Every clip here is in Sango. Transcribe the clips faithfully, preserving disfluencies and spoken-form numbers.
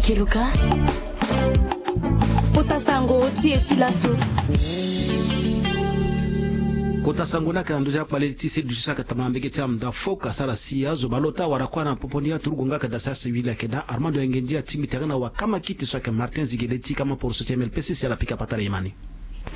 Keluka. Kota sango ti e ti laso. Kota sango ni ayeke na ndö ti akpale ti seli duti so ayeke tama na mbege ti amda fok asara si azo baleota wara kuâ na popo ni aturugu nga ayeke daa sara si wili ayeke daa Armando Engendi atingbi tene na wakama kiti so ayeke Martin Zigele ti kama poroso ti M L P C si ala pika patara e ma ni.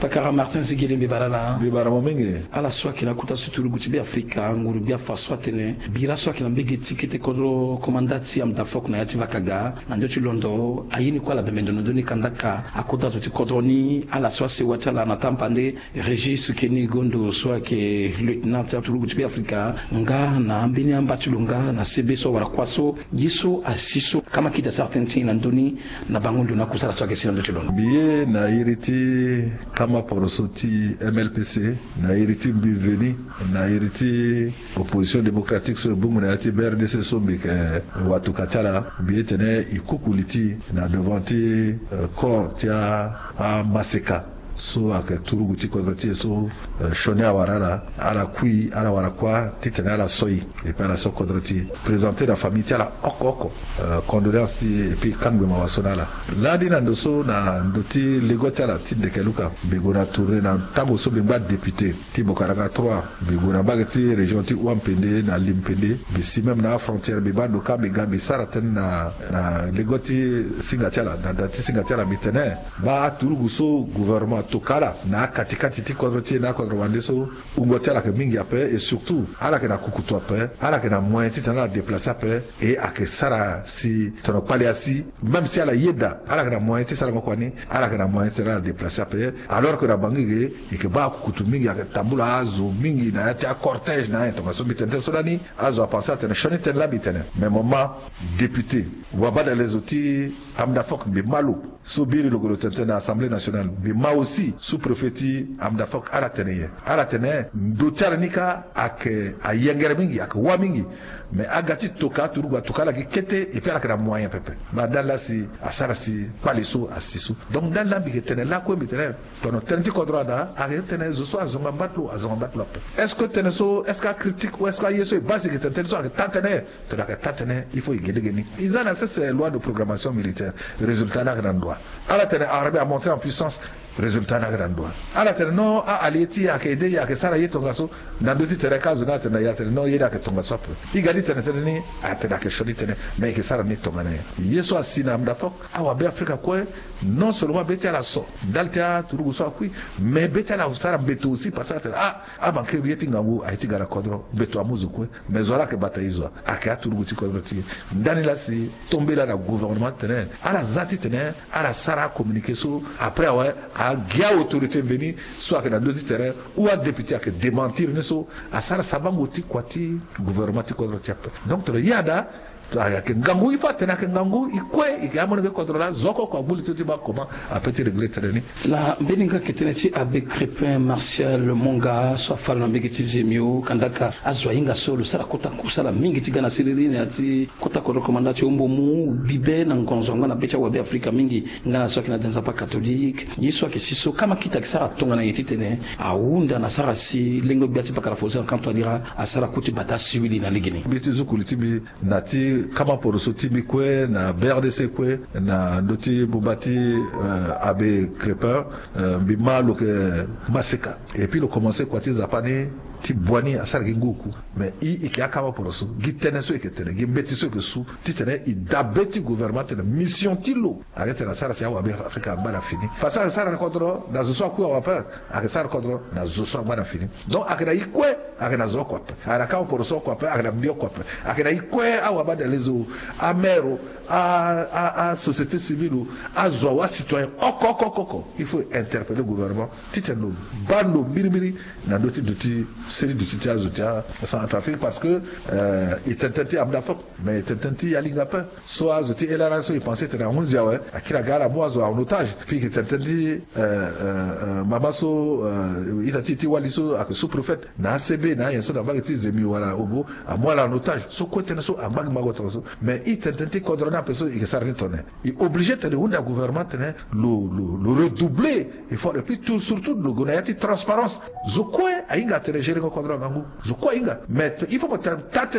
Pakara Martin Zigele, mbi bara ala. Mbi bara mo mingi. Ala so ayeke na kota so turugu ti Beafrika, nguru gbia fa so atene bira so ayeke na mbege ti kete kodro komanda ti amda fok na ya ti vakaga na ndö ti londo aye ni kue ala bembe ndo na ndö ni kandaka akota zo ti kodro ni. Ala so asewa ti ala na tampande Régis Kenigondo so ayeke lieutenant ti aturugu ti Beafrika nga na ambeni amba ti lo nga na sebe so awara kuâ so. Ye so asi so kama kiti asara tënë ti e na ndö ni na bango ndo na kusala so ayeke si na ndö ti londo. Mbi ye na iri ti kama poroso ti M L P C, na iri ti mbi veni, na iri ti opposition démocratique so e bongbi na ya ti B R D C so mbi yeke watuka ti ala, mbi ye tene e kuku li ti e na devant ti, eh, corps ti a, amaseka so ayeke turugu ti kodro ti e so, eh, sioni awara ala, ala kui, ala wara kuâ titene ala so e, et puis ala so kodro ti e. Présenter na famille ti ala oko oko, eh, condoléance ti e, et puis kangbi mawa so na ala. Lani na ndo so na ndo ti lego ti ala ti ndeke luka, mbi gue na tournée na tango so mbi ngba député ti Bokaranga trois, mbi gue na mbage ti région ti Ouampende na Limpende, mbi si même na afrontière, mbi baa ndo kâ, mbi ga mbi sara tënë na, na lego ti singa ti ala, na da ti singa ti ala, mbi tene baa aturugu so gouvernement atoka ala na akati kati ti kodro ti e na akodro wande so, wungo ti ala yeke mingi ape, et surtout ala yeke na kukutu ape, ala yeke na moyen titene ala déplacer ape, et ayeke sara si tongana kpale asi, même si ala yeda, ala yeke na moyen ti sarango kua ni, ala yeke na moyen titene ala déplacer ape, alors que na Bangui ge e yeke baa akukutu mingi, ayeke tambula azo mingi na ya ti acortège na ayen tongaso. Mbi tene tënë so lani, azo apenser atene sioni tënë laa mbi tene. Mais mo ma député, wabadale zo ti amda fok, mbi ma lo so biri lo gue lo tene tënë na Assemblée nationale, mbi ma aussi sous-préfet ti amda fok, ala tene nyen? Ala tene ndo ti ala ni kâ ayeke ayengere mingi, ayeke wâ mingi. Mais aga ti toka aturugu atoka ala gi kete, et puis ala yeke na moyen pepe. Ma ndali laa si asara si kpale so asi so. Donc ndali laa mbi yeke tene lakue, mbi tene tongana tënë ti kodro ada, ayeke tene zo so azonga mba ti lo, azonga mba ti lo ape. Est-ce que tënë so, est-ce que acritique ou est-ce que aye so e baa si e yeke tene tënë so ayeke taa tënë? Tongana ayeke taa tënë, il faut e ge lege ni. E za na sese loi de programmation militaire, résultat ni ayeke na ndo wa? Ala tene armée amonter en puissance, résultat ni ayeke na ndo wa? Ala tene non, a-allié ti e ayeke aider, e ayeke sara ye tongaso. Na ndö ti tere kâ azo ni atene na e atene non, ye ni ayeke tongaso ape. E ga ti tene tënë ni, atene ayeke sioni tënë, mais e yeke sara ni tongana nyen? Ye so asi na amda fok, awabe afrika kue, non seulement be ti ala so ndali ti aturugu so akui, mais be ti ala asara mbeto aussi, parce que atene ah, amanke ye ti ngangu aye ti ga na kodro, mbeto amu zo kue. Mais zo wa laa ayeke bata e zo wa? Ayeke aturugu ti kodro ti e. Ndani laa si tombe laa na gouvernement titene ala za titene ala sara acommuniqué so, après awe, agi a-autorité mveni so ayeke na ndö ti tere ou adéputé ayeke démentir ni so, asara sabango ti kua ti gouvernement ti kodro ti e ape. Donc tongana ye ada, ayeke ngangu, il faut atene ayeke ngangu, e kue, e yeke amolenge kodro laa, zo oko oko agbu li ti lo ti baa comment ape ti régler tënë ni. Na mbeni nga yeke tënë ti Abbé Crépin Martial Monga so afa lo na mbege ti Zemio, kandaka azo ahinga so lo sara kota kusala mingi ti ga na siriri na ya ti kota kodro komanda ti Ombomu, bibe na ngonzo angba na be ti awabe afrika mingi, nga na so ayeke na da nzapa catholique. Ye so ayeke si so, kama kita ayeke sara tongana nyen titene ahunda na sara si lengo gbia ti pakara Faustin Archange Touadéra asara ku ti bata siwili na legeni? Mbi ti zukuli ti mbi na ti kama poroso ti mbi kue, na B R D C kue, na ndö ti bumba ti, eh, Abbé Crépin, eh, mbi ma lo yeke maseka. Et puis lo commencer kua ti nzapa ni ti bua ni asara gi ngu oku. Mais e, e yeke akama poroso, gi tënë so e yeke tene, gi mbeti so e yeke su, titene e dabe ti gouvernement tene mission ti lo ayeke tene asara si awabe afrika angba na fini. Parce que ayeke sara ni kodro na zo so akui awe ape, ayeke sara kodro na zo so angba na fini. Donc ayeke na e kue, ayeke na zo oko ape, ayeke na kama poroso oko ape, ayeke na mbi oko ape, ayeke na e kue, awabadale zo, amere o, a, a, asociété civile o, azo awe, acitoyen oko oko oko oko. Il faut interpeller gouvernement titene lo baa ndo mbirimbiri na ndö ti duti, seri duti ti azo ti aCentrafrique, parce que, euh, e tene tënë ti amda fok, mais e tene tënë ti yalinga ape. So azo ti L R A so e pense tene ahunzi awe, akiri aga ala amu azo en otage. Puis e yeke tene tënë ti, euh, euh, euh, mama so, euh, ita ti e ti wali so ayeke sous-préfet na A C B, na ayen so na mbage ti Zemio wala Obo, amu ala en otage. So kue tënë so angba gi mango tongaso. Mais e tene tënë ti kodro ni ape so e yeke sara ni tongana nyen? E obligé tene e hunda gouvernement tene lo, lo, lo redoubler effort, et puis tout, surtout lo gue na ya ti transparence. Zo kue ahinga atene gérer ngo kodro na ngangu. Zo kue ahinga. Mais il faut mo taa tënë